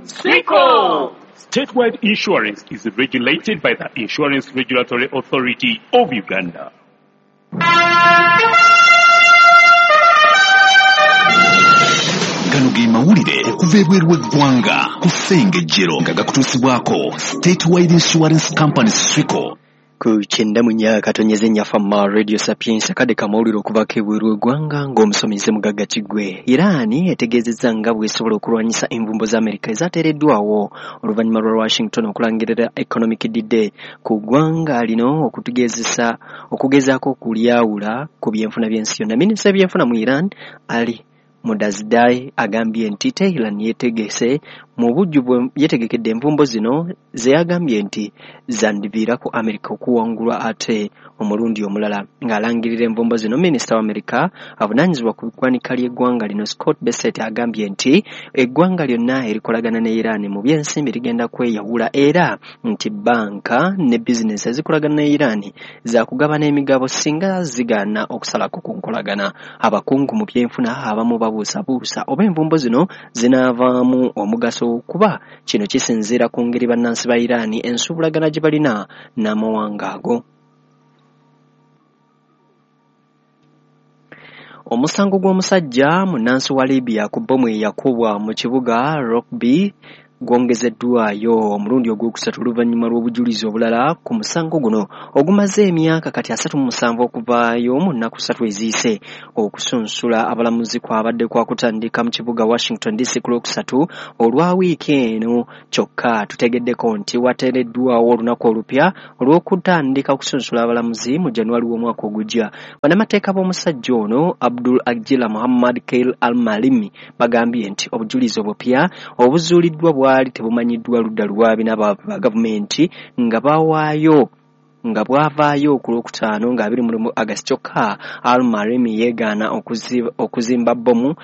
Swico! Statewide Insurance is regulated by the Insurance Regulatory Authority of Uganda. Gano ge mawulire okuva ebweru w'eggwanga ku Ssengejjero nga gakutuusibwako Statewide Insurance Company Swico. Ku 94.4 Fama Radio Sapiens, akadde kamawulire okuvaako ebweru w'eggwanga ng'omusomi Mugagga Kiggwe. Iran etegeezezza nga bw'esobola okulwanyisa envumbo za Amerika ezateereddwawo oluvannyuma lwa Washington okulangirira Economic D-Day ku ggwanga lino okugezaako okulyawula ku byenfuna by'ensi yonna. Minisita w'ebyenfuna mu Iran, Ali Modazdai, agambye nti Tehran yeetegese mu bujjuvu, yeetegekedde envumbo zino ze yagambye nti zandiviirako Amerika okuwangulwa ate omulundi omulala. Ng'alangirira envumbo zino, minisita wa Amerika avunaanyizibwa ku ggwanika ly'eggwanga lino, Scott Bessent, agambye nti eggwanga lyonna erikolagana ne Iran mu by'ensimbi ligenda kweyawula era nti bbanka ne bizinensi ezikolagana ne Iran zaakugabana emigabo singa zigaana okusalako ku nkolagana. Abakungu mu byenfuna abamu babuusabuusa oba envumbo zino zinaavaamu omugaso kuba kino kisinziira ku ngeri bannansi ba Iran ensuubulagana gye balina n'amawanga ago. Omusango gw'omusajja munnansi wa Libya ku bbomu eyakubwa mu kibuga Rugby gwongezeddwayo omulundi ogwokusatu oluvannyuma lw'obujulizi obulala ku musango guno ogumaze emyaka kati 37 okuvaayo mu nnaku 3 eziyise. Okusunsula abalamuzi kwabadde kwakutandika mu kibuga Washington DC ku Lwokusatu olwa wiiki eno, kyokka tutegeddeko nti wateereddwawo olunaku olupya olw'okutandika okusunsula abalamuzi mu January w'omwaka ogujja. Bannamateeka b'omusajja ono, Abdul Ajila Muhammad Kail Al-Malimi, bagambye nti obujulizi obupya obuzuuliddwa bwali tebumanyiddwa ludda lwabi n'aba gavumenti nga bawaayo nga bwavaayo ku Lwokutaano nga 21 August. Kyokka Al-Malimi yeegaana okuzimba bbomu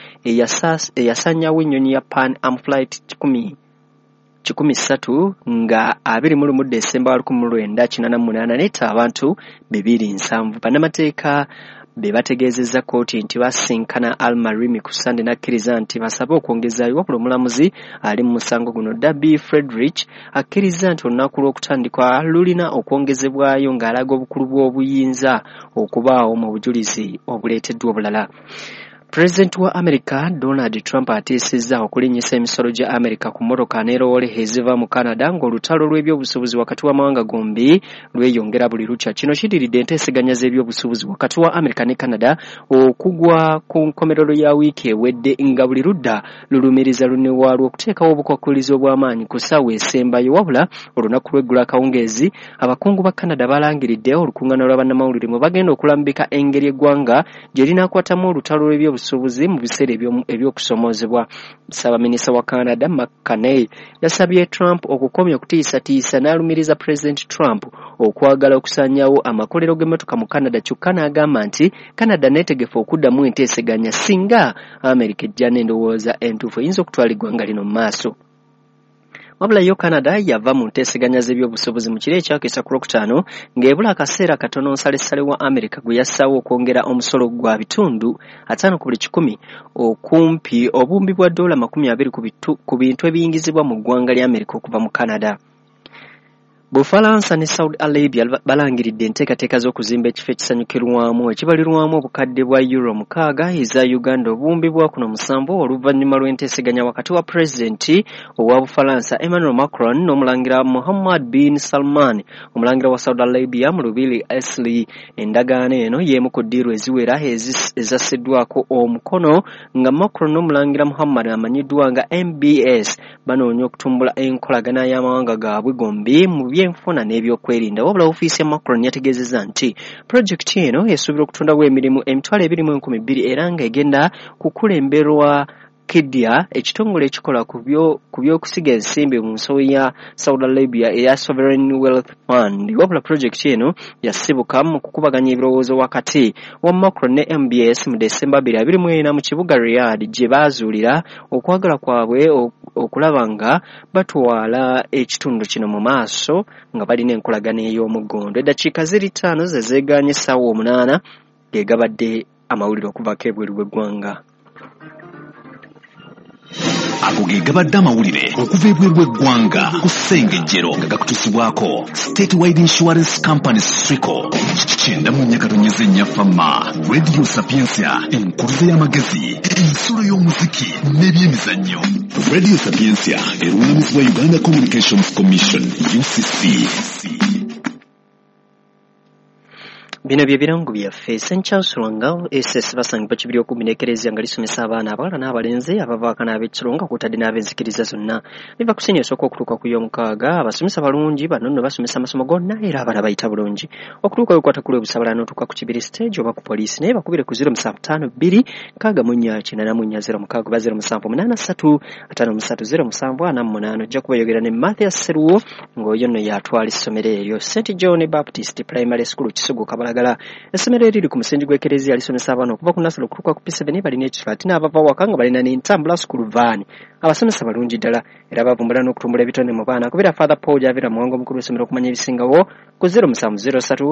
eyasanyawo ennyonyi ya Pan Am Flight 103 nga 21 Desemba 1988 n'etta abantu 270. Bannamateeka be bategeezezza kkooti nti basinkana Al-Malimi ku Ssande n'akkiriza nti basabe okwongezaayo, wabula omulamuzi ali mu musango guno Darby Friedrich akkiriza nti olunaku lw'okutandikwa lulina okwongezebwayo ng'alaga obukulu bw'obuyinza okubaawo mu bujulizi obuleeteddwa obulala. Pulezidenti wa America Donald Trump atiisizza okulinnyisa emisolo gya America ku mmotoka ne loole eziva mu Canada ng'olutalo lw'ebyobusuubuzi wakati w'amawanga gombi lweyongera buli lukya. Kino kiddiridde enteeseganya z'ebyobusuubuzi wakati wa America ne Canada okugwa ku nkomerero ya wiiki ewedde nga buli ludda lulumiriza lunne waalwo okuteekawo obukwakkulizo obw'amaanyi ku ssaawa esembayo. Wabula olunaku lw'eggulo akawungeezi, abakungu ba Canada balangiridde olukuŋŋaana lwa bannamawulire mwe bagenda okulambika engeri eggwanga gye linaakwatamu olutalo lw'ebyobusuubuzi mu biseera eby'okusomoozebwa. Ssaabaminisita wa Canada Mark Carney yasabye Trump okukomya okutiisatiisa n'alumiriza Pulezidenti Trump okwagala okusaanyaawo amakolero g'emmotoka mu Canada, kyokka n'agamba nti Canada neetegefu okuddamu enteeseganya singa America ejja n'endowooza entuufu eyinza okutwala eggwanga lino mu maaso. Wabula yo Canada yava mu nteeseganya z'ebyobusuubuzi mu kiro ekyakesa ku Lwokutaano ng'ebula akaseera katono nsalessale wa America gwe yassaawo okwongera omusolo gwa 50% ku buli 100 okumpi obuwumbi bwa dola 20 ku bintu ebiyingizibwa mu ggwanga lya America okuva mu Canada. Bufalansa ne Saudi Arabia balangiridde enteekateeka z'okuzimba ekifo ekisanyukirwamu ekibalirwamu obukadde bwa euro 6 eza Uganda obuwumbi bwa kuno 7 oluvannyuma lw'enteeseganya wakati wa pulezidenti owa Bufalansa Emmanuel Macron n'omulangira Muhammad bin Salman, omulangira wa Saudi Arabia, mu Lubiri Esli. Endagaano eno y'emu ku ddiiru eziwera ezassiddwako omukono nga Macron n'omulangira Muhammad amanyiddwa nga MBS banoonya okutumbula enkolagana y'amawanga gaabwe gombi mu byenfuna n'ebyokwerinda. Wabula ofiisi ya Macron yategeezezza nti pulojekiti eno esuubira okutondawo emirimu 22,000 era ng'egenda kukulemberwa Kidia, ekitongole ekikola ku by'okusiga ensimbi mu nsawo ya Saudi Arabia eya Sovereign Wealth Fund. Wabula pulojekiti eno yasibuka mu kukubaganya ebirowoozo wakati wa Macron ne MBS mu Desemba 2024 mu kibuga Riyadh gye baazuulira okwagala kwabwe okulaba nga batwala ekitundu kino mu maaso nga balina enkolagana ey'omuggondo. Eddakiika ziri 5 ze zeegaanye essaawa 8 ge gabadde amawulire okuvaako ebweru w'eggwanga. Ago ge gabadde amawulire okuva ebweru w'eggwanga ku Ssengejjero nga gakutuusibwako State Wide Insurance Company Swico. 94.4 Fama Radio Sapientia, enkuluze y'amagezi, ensulo y'omuziki n'ebyemizannyo. Radio Sapientia erungamizibwa Uganda Communications Commission UCC. Bino bye birango byaffe. St Charles Lwanga SS basangibwa Kibiri okumpi n'Ekereziya nga lisomesa abaana abawala n'abalenzi abavaako n'ab'ekiro nga kw'otadde n'ab'enzikiriza zonna. Biva ku siniya esooka okutuuka ku y'omukaaga. Abasomesa balungi bano nno basomesa amasomo gonna era abaana bayita bulungi. Okutuuka wekwata ku lw'e Busabala n'otuuka ku Kibiri stage oba ku poliisi naye bakubire ku 0752 64 84 06 oba 0783 53 07 48. Ojja kubayogera ne Mathias Seruwo ng'oyo nno y'atwala essomero eryo. St John Baptist Primary School Kisugu Kabalagala. Essomero eriri ku musingi gw'Ekereziya lisomesa abaana okuva ku nasolo okutuuka ku P7 balina ekisula ate n'abava waka nga balina n'entambula school van. Abasomesa balungi ddala era bavumbula n'okutumbula ebitone mu baana. Kubira Father Paul Javira Muwanga omukulu w'essomero okumanya ebisingawo ku 0703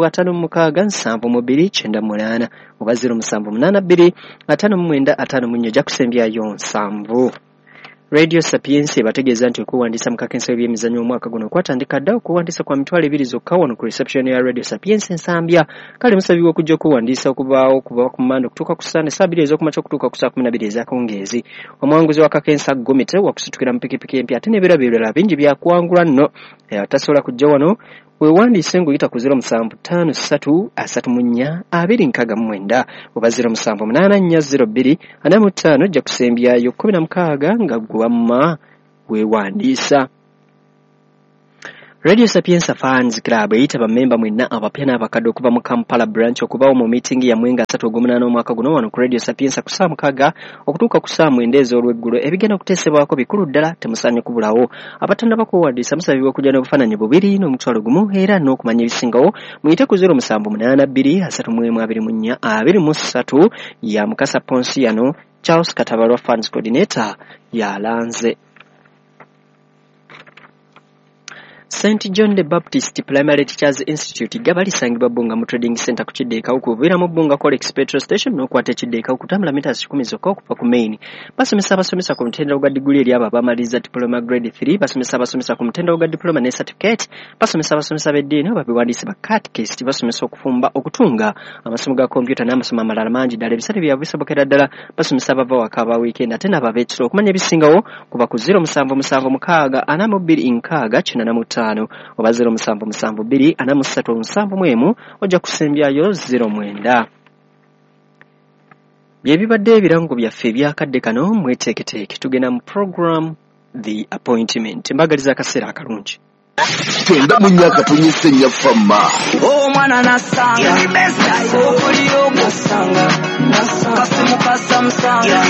56 72 98 oba 0782 59 54 ojja kusembyayo 7. Radio Sapientia ebategeeza nti okwewandiisa mu kakensa w'ebyemizannyo omwaka guno kwatandika dda okuwandiisa kwa 20,000 zokka wano ku reception ya Radio Sapientia Nsambya. Kale musabibwa okujja okwewandiisa okubaawo okuva ku Mmande okutuuka ku Ssande ssaawa 2 ez'okumakya okutuuka ku ssaawa 12 ez'akawungeezi. Omuwanguzi wa kakensa Gomite wakusitukira mu pikipiki empya ate n'ebirabo ebirala bingi byakuwangula nno. Atasobola kujja wano weewandiise ng'oyita ku 0753 34 269 oba 0784 02 45 ojja kusembyayo 16 nga ggwe wamma weewandiisa. Radio Sapientia Fans Club eyita bammemba mwenna abapya n'abakadde okuva mu Kampala branch okubaawo mu meeting yammwe nga 3 ogw'omunaana omwaka guno wano ku Radio Sapientia ku ssaawa 6 okutuuka ku ssaawa 9 ez'olweggulo. Ebigenda okuteesebwako bikulu ddala temusaanye kubulawo. Abatannaba kwewandiisa musabibwa okujja n'obufaananyi bubiri n'omutwalo gumu era n'okumanya ebisingawo muyite ku 0782 31 24 23 ya Mukasa Ponsiano. Charles Katabalwa Fans Coordinator yalanze. St John the Baptist Primary Teachers Institute gaba lisangibwa Bbunga mu Trading Center ku Kidde e Kawuku. Oviira mu Bbunga Colex Petrol Station n'okwata Ekidde e Kawuku kutambula mita 10 zokka okuva ku main. Basomesa abasomesa ku mutendera gwa diguli eri abo abamaliriza diploma grade 3, basomesa abasomesa ku mutendera gwa diploma ne certificate, basomesa abasomesa b'eddiini oba bewandiise ba catechist, basomesa okufumba, okutunga, amasomo ga kompyuta n'amasomo amalala mangi ddala. Ebisale byabwe bisobokera ddala. Basomesa abava waka aba weekend ate n'abo ab'ekiro. Okumanya ebisingawo kuba ku 0776 42 6 85 oba 0772 43 71 ojja kusembyayo 09. Bye bibadde ebirango byaffe ebyakadde kano. Mweteeketeeke tugenda mu program The Appointment. Mbagaliza akaseera akalungi. 94.4 Fama. Omwana nasanga okolio nasanga kasimu kasamusanga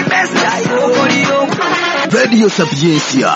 okolio Radio Sapientia.